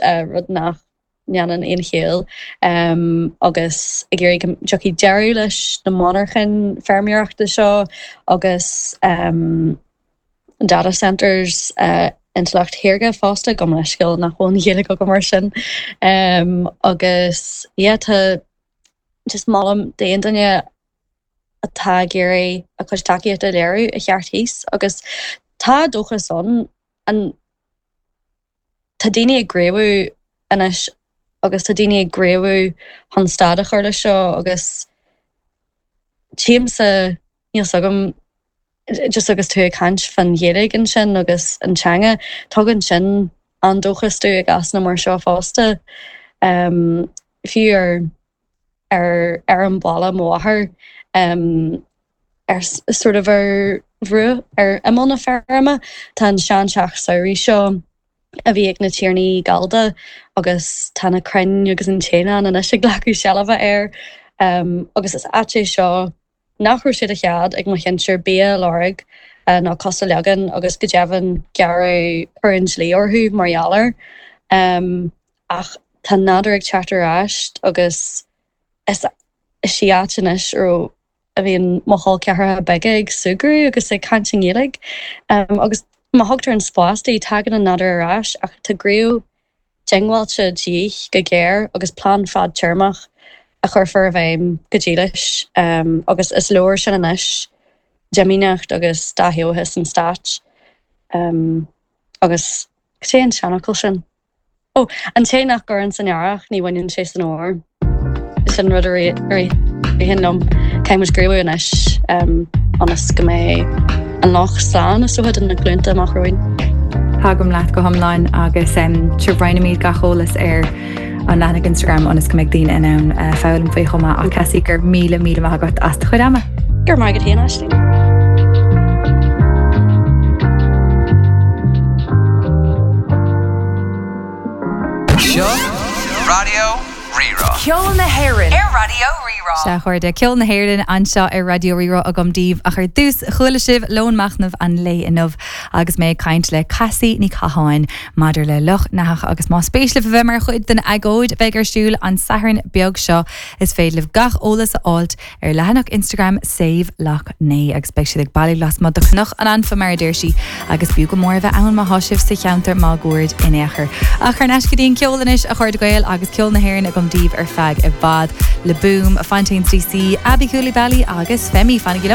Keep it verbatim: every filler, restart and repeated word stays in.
rud nach ndéanann aon chiall agus ag iarraidh go dtiocfaidh deireadh leis na monarchain feirmeoireachta seo agus data centers intleacht shaorga fosta gabh mo leithscéal nach bhfuil an Ghaeilge agam mar sin agus yeah tá just molaim d'aon duine atá ag iarraidh a chuid tacaíochta a léiriú a theacht thíos agus tá dóchas ann an tá daoine ag gníomhú anois agus tá daoine ag gníomhú chun stad a chur leis seo agus tímse níl 's agam just agus tú ag caint faoin Ghaeilge ansin agus an teanga tugann sin an dóchas domh i gcásanna mar seo fosta um, fiú ar ar ar an bhaile mo mháthair um, ar sort of ar bhruach ar imeall na feirme tá an seanteach samhraidh seo a bhí ag na tiarnaí Gallda agus tá na crainn agus an t-éan anois ag glacadh seilbhe air um, agus is áit é seo nach raibh sé de chead ag mo shinsir bia a lorg uh, ná cos a leagan agus go deimhin gearradh an dlí orthu mar gheall air. Um, ach tá nádúr ag teacht ar ais agus is is í áit anois ro a bhíonn mo chol ceathracha beaga ag súgradh agus ag caint i nGaeilge. Um, agus má thugtar an spás di tagann an nádúr ar ais ach tá gníomh diongbháilte de dhíth go géar agus plean fadtéarmach a chuirfear i bhfeidhm go dílis um, agus is leor sin anois deimíneacht agus dathéochas an stáit um, agus sé an seanfhocal sin. Ó an té nach gcuireann san earrach ní bhaineann sé san fhómhar. Sin rud a ritheann liom caithfidh muid gníomhú anois um, ionas go mbeidh an loch slán is dócha do na glúnta amach romhainn. Tagaim leat go hiomlán agus um, roinnfimid gach eolas ar an leathanach Instagram ionas go mbeidh daoine in ann uh, foghlaim faoi chomh maith ach Cassie gur míle míle maith agat as do chuid ama. Gur maith agat féin Aisling. Seo Raidió Rí-Rá. Ceol na hÉireann ar Raidió Rí-Rá. Sea a chairde ceol na hÉireann anseo ar Raidió Rí-Rá agam daoibh ach ar dtús chuala sibh lón machnaimh an lae inniu agus mé ag caint le Cassie Ní Catháin maidir le Loch nEathach agus más spéis libh a bheith mar chuid den agóid bheidh ar siúl an Satharn beag seo is féidir libh gach eolas a fháilt ar leathanach Instagram Save Lough Neagh agus beidh siad ag bailiú lasmuigh de Chnoc an Anfa mar a deir sí agus b'fhiú go mór a bheith ann má tá sibh sa cheantar máguaird in aon chor. Ach thar n-ais go dtí an ceol anois a chairde Gael agus ceol na hÉireann agam daoibh ar feadh i bhfad Le Boom, Fontaines DC, Aby Coulibaly agus Femi fanaigí